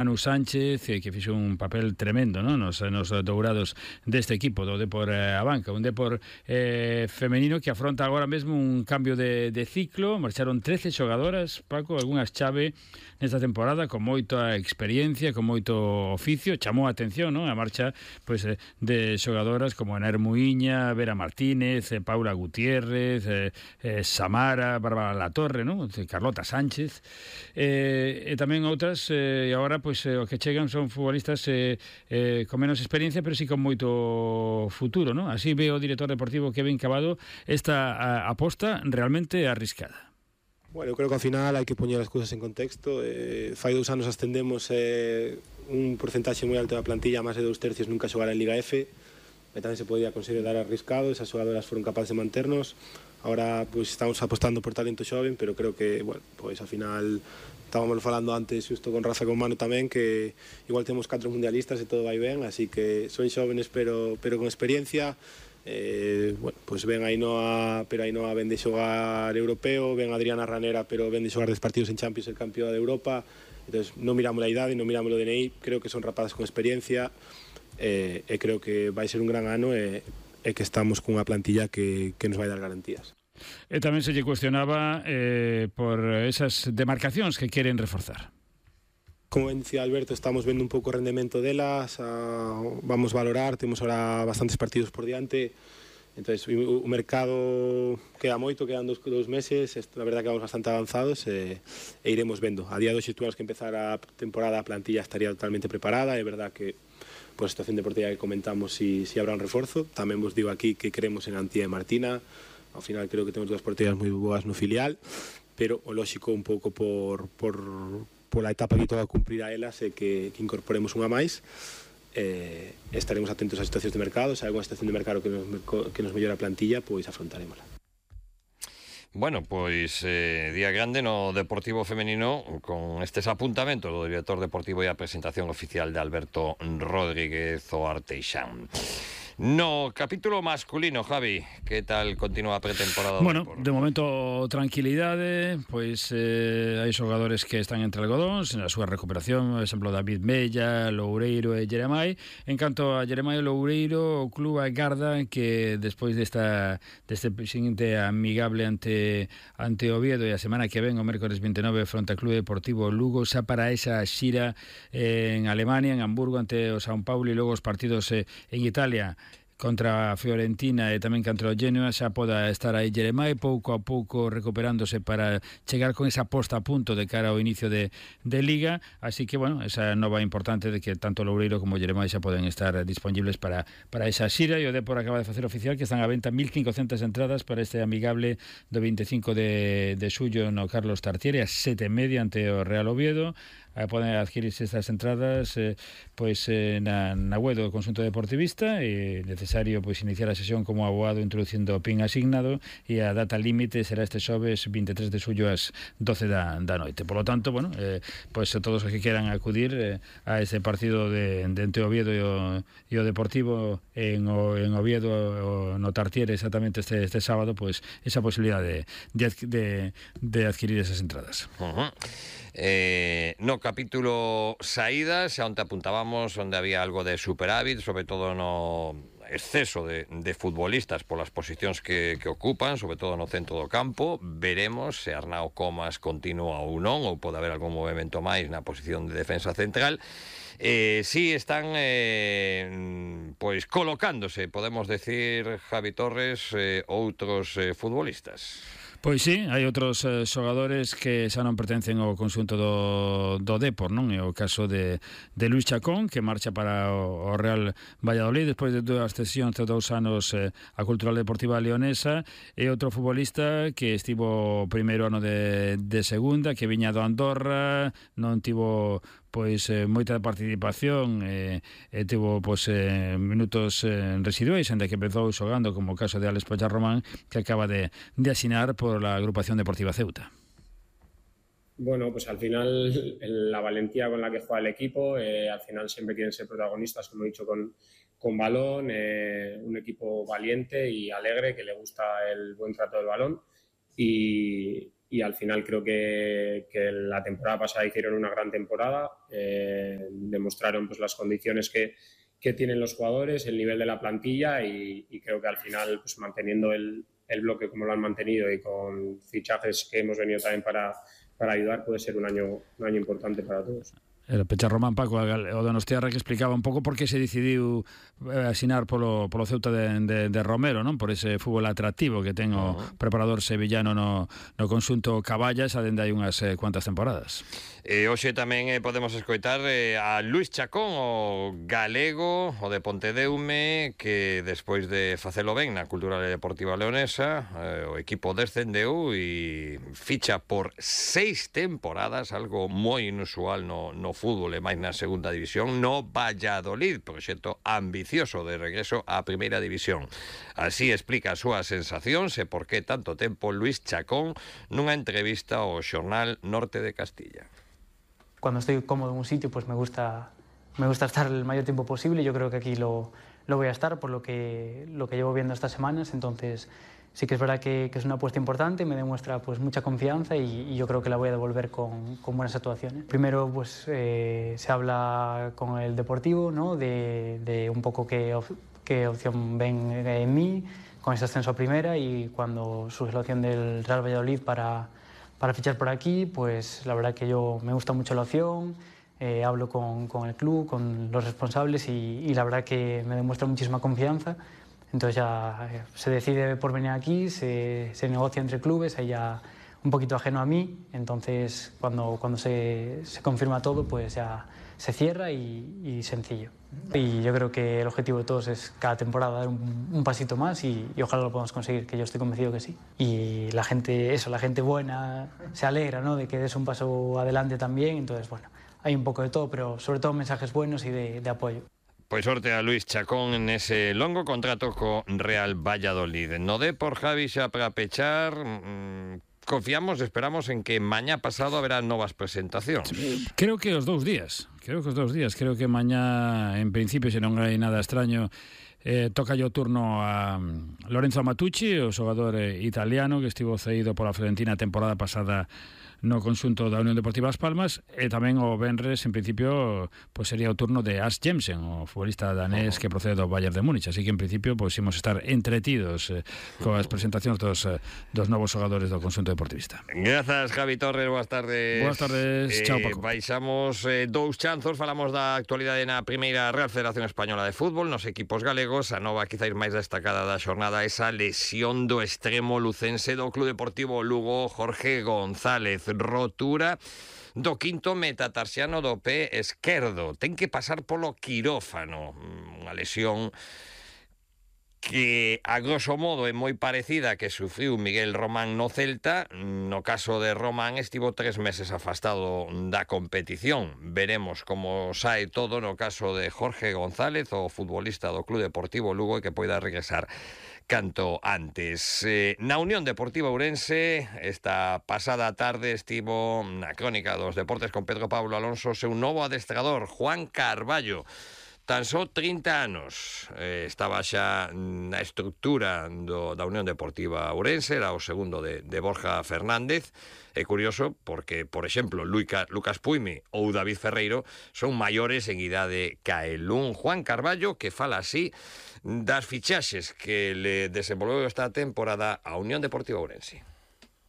Manu Sánchez, que fixo un papel tremendo, non? Nos dourados deste equipo do Depor Abanca, un Depor femenino que afronta agora mesmo un cambio de ciclo. Marcharon 13 xogadoras, Paco, algunhas chave nesta temporada, con moita experiencia, con moito oficio. Chamou a atención, non? A marcha pois, de xogadoras como Ana Muiña, Vera Martínez, Paula Gutiérrez, Samara, Bárbara Latorre, non? Carlota Sánchez, e tamén outras, e agora pois o que chegan son futbolistas con menos experiencia, pero sí con moito futuro, non? Así ve o director deportivo Kevin Cabado esta aposta realmente arriscada. Bueno, eu creo que ao final hai que poñer as cousas en contexto. Fai 2 anos ascendemos un porcentaxe moi alto da plantilla, máis de 2/3 nunca xogara en Liga F, e tamén se podía considerar arriscado. Esas xogadoras foron capaces de manternos. Ahora pois estamos apostando por talento xoven, pero creo que, bueno, pois ao final estábamos falando antes xusto con Rafa e con Manu tamén, que igual temos 4 mundialistas e todo vai ben, así que son xóvenes pero con experiencia. Bueno, pois ven Ainhoa, pero Ainhoa ven de xogar europeo, ven Adriana Ranera, pero ven de xogar 10 partidos en Champions, el campeón de Europa. Entonces non miramos a idade, non miramos o DNI, creo que son rapazas con experiencia, e creo que vai ser un gran ano, e que estamos cunha plantilla que nos vai dar garantías. E tamén se lle cuestionaba por esas demarcacións que queren reforzar. Como ben dicía Alberto, estamos vendo un pouco o rendemento delas, vamos valorar, temos ahora bastantes partidos por diante, entonces o mercado queda moito, quedan 2 meses, a verdad que vamos bastante avanzados, e iremos vendo. A día de hoxe tuvimos que empezar a temporada, a plantilla estaría totalmente preparada, é verdad que por a situación deportiva que comentamos, si habrá un reforzo. Tamén vos digo aquí que creemos en Antía e Martina. Ao final creo que temos 2 porteras moi boas no filial, pero o lóxico un pouco por a etapa que toca cumprir a elas é que incorporemos unha máis. Estaremos atentos ás situacións de mercado. Se hai alguna situación de mercado que nos mellora a plantilla, pois afrontarémola. Bueno, pois día grande no Deportivo Femenino, con estes apuntamentos do director deportivo e a presentación oficial de Alberto Rodríguez o Arteixán. No capítulo masculino, Javi, que tal continúa a pretemporada? Bueno, de momento tranquilidade, pois hai xogadores que están entre algodóns na súa recuperación, por exemplo David Mella, Loureiro e Jeremai. En canto a Jeremai e Loureiro, o club agarda que despois deste seguinte amigable ante Oviedo, e a semana que ven, o mércores 29, fronte ao Club Deportivo Lugo, xa para esa xira en Alemania, en Hamburgo, ante o São Paulo, e logo os partidos en Italia contra a Fiorentina e tamén contra o Genoa, xa poda estar aí Jeremai pouco a pouco recuperándose para chegar con esa posta a punto de cara ao inicio de Liga. Así que, bueno, esa nova importante de que tanto Loureiro como Jeremai xa poden estar disponibles para esa xira, e o Depor acaba de facer oficial que están a venta 1.500 entradas para este amigable do 25 de xullo no Carlos Tartiere, a 7:30 ante o Real Oviedo. Poden adquirirse estas entradas na web do conxunto deportivista, e necesario iniciar a sesión como abogado introducindo o PIN asignado, e a data límite será este xoves 23 de xullo ás 12 da noite. Por lo tanto, bueno, todos os que queran acudir a ese partido de entre Oviedo e o Deportivo en Oviedo, no Tartiere, exactamente este sábado, esa posibilidade de adquirir esas entradas. No capítulo saídas, xa onde apuntábamos onde había algo de superávit, sobre todo no exceso de futbolistas polas posicións que ocupan, sobre todo no centro do campo. Veremos se Arnao Comas continúa ou non, ou pode haber algún movimento máis na posición de defensa central. Si están colocándose, podemos decir, Javi Torres, outros futbolistas. Pois sí, hai outros xogadores que xa non pertencen ao conxunto do Depor, non? É o caso de Luis Chacón, que marcha para o Real Valladolid despois de 2 cesións de 2 anos a Cultural Deportiva Leonesa, e outro futbolista que estivo o primeiro ano de segunda, que viña do Andorra, non tivo moita participación, tivo minutos residuais, onde que empezou xogando, como o caso de Alex Pacharromán, que acaba de asinar por la agrupación deportiva Ceuta. Bueno, pues al final la valentía con la que juega el equipo, al final siempre quieren ser protagonistas, como he dicho, con balón, un equipo valiente y alegre, que le gusta el buen trato del balón, y y al final creo que la temporada pasada hicieron una gran temporada, demostraron pues las condiciones que tienen los jugadores, el nivel de la plantilla y creo que al final pues manteniendo el bloque como lo han mantenido y con fichajes que hemos venido también para ayudar, puede ser un año importante para todos. Era Pecha Román, Paco, o Donostiarra, que explicaba un pouco por que se decidiu asinar polo Ceuta de Romero, non? Por ese fútbol atractivo que ten o preparador sevillano no conxunto Caballas, adende hai unhas cuantas temporadas. Hoxe tamén podemos escoitar a Luís Chacón, o galego, o de Pontedeume, que despois de facelo ben na Cultural e Deportiva Leonesa, o equipo descendeu e ficha por 6 temporadas, algo moi inusual no fútbol e máis na segunda división, no Valladolid, proxecto ambicioso de regreso á primeira división. Así explica as súas sensacións e por que tanto tempo Luís Chacón nunha entrevista ao xornal Norte de Castilla. Cuando estoy cómodo en un sitio, pues me gusta estar el mayor tiempo posible. Yo creo que aquí lo voy a estar por lo que llevo viendo estas semanas. Entonces sí que es verdad que es una apuesta importante, me demuestra pues mucha confianza y yo creo que la voy a devolver con buenas actuaciones. Primero pues se habla con el Deportivo, ¿no? de un poco qué opción ven en mí con ese ascenso a primera, y cuando surge la opción del Real Valladolid para fichar por aquí, pues la verdad que me gusta mucho la opción, hablo con el club, con los responsables y la verdad que me demuestra muchísima confianza. Entonces ya se decide por venir aquí, se negocia entre clubes, ahí ya un poquito ajeno a mí, entonces cuando se confirma todo, pues ya se cierra y sencillo. Y yo creo que el objetivo de todos es cada temporada dar un pasito más y ojalá lo podamos conseguir, que yo estoy convencido que sí. Y la gente buena se alegra, ¿no? De que des un paso adelante también, entonces bueno, hay un poco de todo, pero sobre todo mensajes buenos y de apoyo. Pois sorte a Luís Chacón nese longo contrato co Real Valladolid. No de por Javi xa para pechar, confiamos, esperamos en que mañá pasado haberá novas presentacións. Creo que os 2 días. Creo que mañá, en principio, se non hai nada extraño, toca o turno a Lorenzo Matucci, o xogador italiano que estivo cedido pola Fiorentina a temporada pasada no conxunto da Unión Deportiva As Palmas, e tamén o venres, en principio, pues sería o turno de As Jensen, o futbolista danés que procede do Bayern de Múnich, así que en principio pues imos estar entretidos coas presentacións dos novos xogadores do conxunto deportivista. Grazas, Javi Torres, boas tardes. Boas tardes, chao, Paco. Baixamos 2 chanzos, falamos da actualidade na primeira Real Federación Española de Fútbol, nos equipos galegos, a nova quizáis máis destacada da xornada, esa lesión do extremo lucense do Club Deportivo Lugo, Jorge González, rotura do quinto metatarsiano do pé esquerdo, ten que pasar polo quirófano, unha lesión que a grosso modo é moi parecida que sufriu Miguel Román no Celta. No caso de Román estivo 3 meses afastado da competición. Veremos como sae todo no caso de Jorge González, o futbolista do Club Deportivo Lugo, e que poida regresar canto antes. Na Unión Deportiva Ourense, esta pasada tarde estivo na crónica dos deportes con Pedro Pablo Alonso seu novo adestrador, Juan Carballo. Tan só 30 anos, estaba xa na estructura da Unión Deportiva Ourense, era o segundo de Borja Fernández. É curioso porque, por exemplo, Lucas Puimi ou David Ferreiro son maiores en idade ca el. Un Juan Carballo que fala así das fichaxes que le desenvolveu esta temporada a Unión Deportiva Ourense.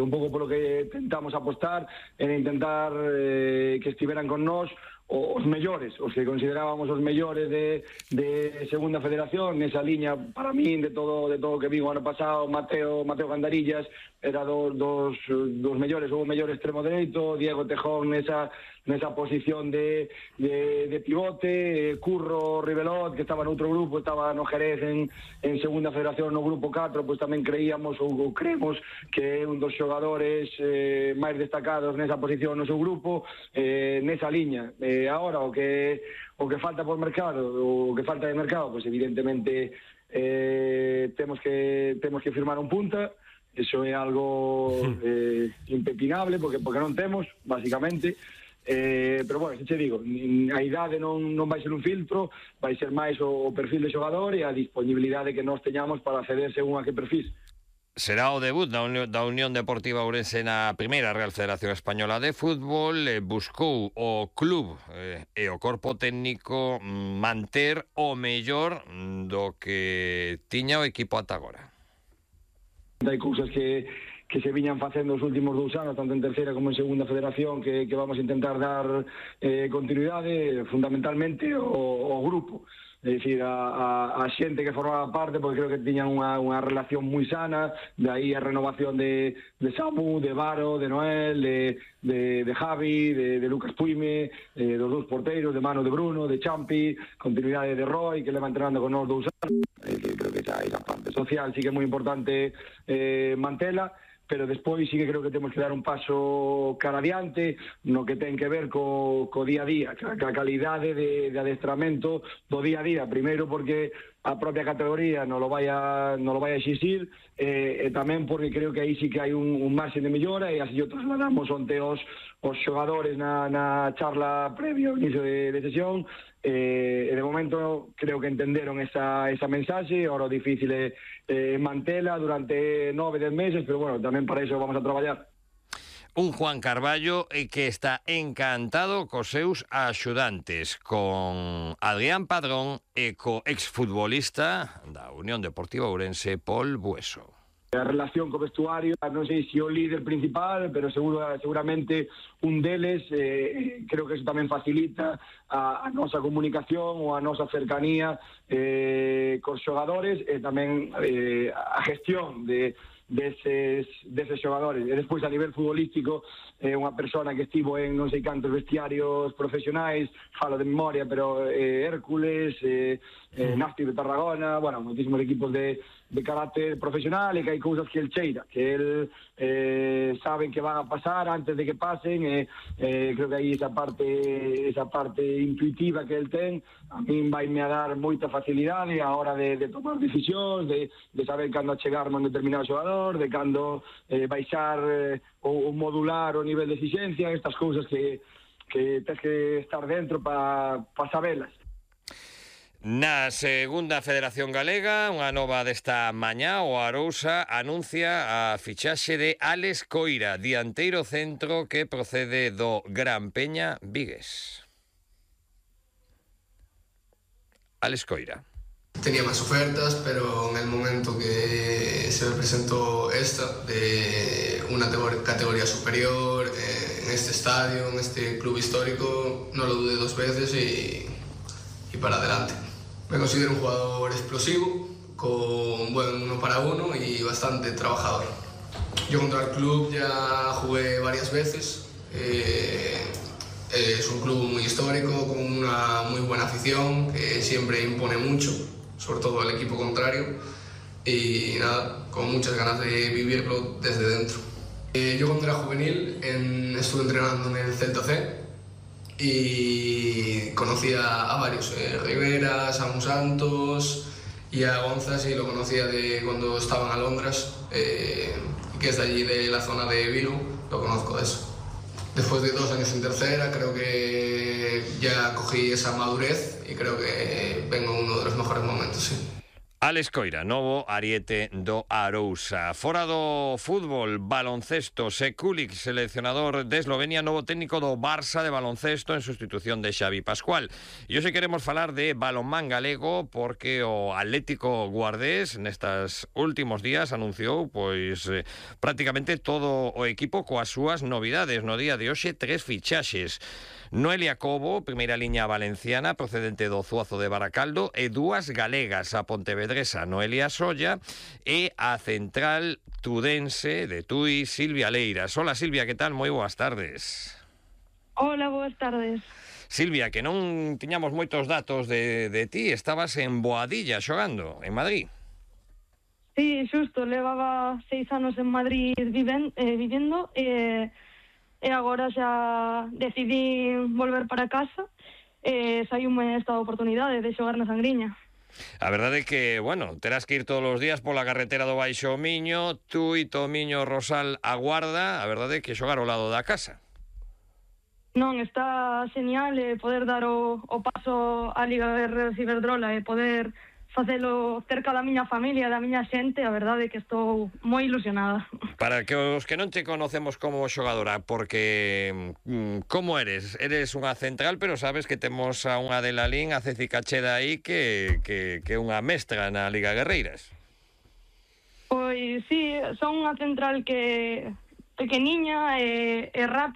Un pouco polo que tentamos apostar era intentar que estiveran con nós os mellores, os que considerábamos os mellores de segunda federación, nesa liña, para min, de todo que vi o ano pasado. Mateo Gandarillas era dos mellores, o mellor extremo dereito, Diego Tejón nesa posición de pivote, Curro Rivelot, que estaba noutro grupo, estaba no Jerez en segunda federación no grupo 4, pois tamén creíamos ou creemos que é un dos xogadores máis destacados nesa posición no seu grupo, nesa liña. Agora, o que falta por mercado, o que falta de mercado, pois evidentemente temos que firmar un punta. Eso é algo impepinable porque non temos, basicamente. Pero bueno, se che digo, a idade non vai ser un filtro, vai ser máis o perfil de xogador e a disponibilidade que nós teñamos para acceder según a que perfil. Será o debut da Unión Deportiva Ourense na primeira Real Federación Española de Fútbol. Buscou o club e o corpo técnico manter o mellor do que tiña o equipo ata agora. Hai cousas que se viñan facendo os últimos 2 anos, tanto en terceira como en segunda federación, que vamos a intentar dar continuidade, fundamentalmente o grupo. É dicir, a xente que formaba parte, porque creo que tiñan unha relación moi sana, de aí a renovación de Samu, de Varo, de Noel, de Javi, de Lucas Puime, dos 2 porteiros, de Manu, de Bruno, de Champi, continuidade de Roy, que leva entrenando con nós 2 anos. Creo que esa parte social sí que é moi importante mantela, pero despois sí que creo que temos que dar un paso cara adiante no que ten que ver co día a día, ca calidade de adestramento do día a día, primeiro porque a propia categoría non lo vai a exixir, e tamén porque creo que aí sí que hai un marxen de mellora, e así o trasladamos onte os xogadores na charla previo ao inicio de sesión, e de momento creo que entenderon esa mensaxe. Ahora o difícil é mantela durante 9-10 meses, pero bueno, tamén para iso vamos a traballar. Un Juan Carballo que está encantado cos seus axudantes, con Adrián Padrón e co exfutbolista da Unión Deportiva Ourense, Pol Bueso. A relación co vestuario, non sei se o líder principal, pero seguramente un deles, creo que eso tamén facilita a nosa comunicación ou a nosa cercanía cos xogadores, e tamén a gestión deses xogadores. E despois, a nivel futbolístico, unha persona que estivo en non sei cantos vestiarios profesionais, falo de memoria, pero Hércules, Nafti de Tarragona, bueno, moitísimos equipos de carácter profesional, e que hai cousas que el cheira, que el saben que van a pasar antes de que pasen, e creo que aí esa parte intuitiva que el ten, a min vaime a dar moita facilidade a hora de tomar decisións, de saber cando achegarme a un determinado xogador, de cando baixar ou modular o nivel de exigencia, estas cousas que tens que estar dentro para sabelas. Na segunda Federación Galega, unha nova desta mañá, o Arousa anuncia a fichaxe de Álex Coira, dianteiro centro que procede do Gran Peña Vigues. Álex Coira. Tenía más ofertas, pero en el momento que se me presentó esta, de una categoría superior, en este estadio, en este club histórico, no lo dudé 2 veces y para adelante. Me considero un jugador explosivo, con buen 1 para 1 y bastante trabajador. Yo contra el club ya jugué varias veces. Es un club muy histórico, con una muy buena afición, que siempre impone mucho, sobre todo al equipo contrario. Y nada, con muchas ganas de vivirlo desde dentro. Yo cuando era juvenil estuve entrenando en el Celta C. Y conocí a varios, Rivera, Samu Santos y a Gonzas, y lo conocía de cuando estaban a Londres, que es de allí, de la zona de Vilu, lo conozco de eso. Después de 2 años en tercera, creo que ya cogí esa madurez y creo que vengo en uno de los mejores momentos, sí. Álex Coira, novo ariete do Arousa. Fora do fútbol, baloncesto, Sekulic, seleccionador de Eslovenia, novo técnico do Barça de baloncesto en sustitución de Xavi Pascual. E hoxe queremos falar de balonmán galego, porque o Atlético Guardés nestas últimos días anunciou prácticamente todo o equipo coas súas novidades. No día de hoxe 3 fichaxes. Noelia Cobo, primeira liña valenciana procedente do Zuazo de Baracaldo, e 2 galegas, a pontevedresa Noelia Solla e a central tudense de Tui, Silvia Leiras. Hola Silvia, que tal? Moi boas tardes. Hola, boas tardes. Silvia, que non tiñamos moitos datos de ti, estabas en Boadilla xogando, en Madrid. Sí, xusto, levaba 6 anos en Madrid vivendo e agora xa decidí volver para casa e saiume esta oportunidade de xogar na Sangriña. A verdade é que, bueno, terás que ir todos os días pola carretera do Baixo Miño, tú e Tomiño Rosal a Guarda, a verdade é que xogar ao lado da casa. Non, está genial poder dar o paso á Liga de Iberdrola e poder facelo cerca da miña familia, da miña xente, a verdade é que estou moi ilusionada. Para que os que non te conocemos como xogadora, porque como eres? Eres unha central, pero sabes que temos a unha de Lalín, a Ceci Cacheda aí, que é unha mestra na Liga Guerreiras. Pois sí, son unha central que pequeniña e rápida.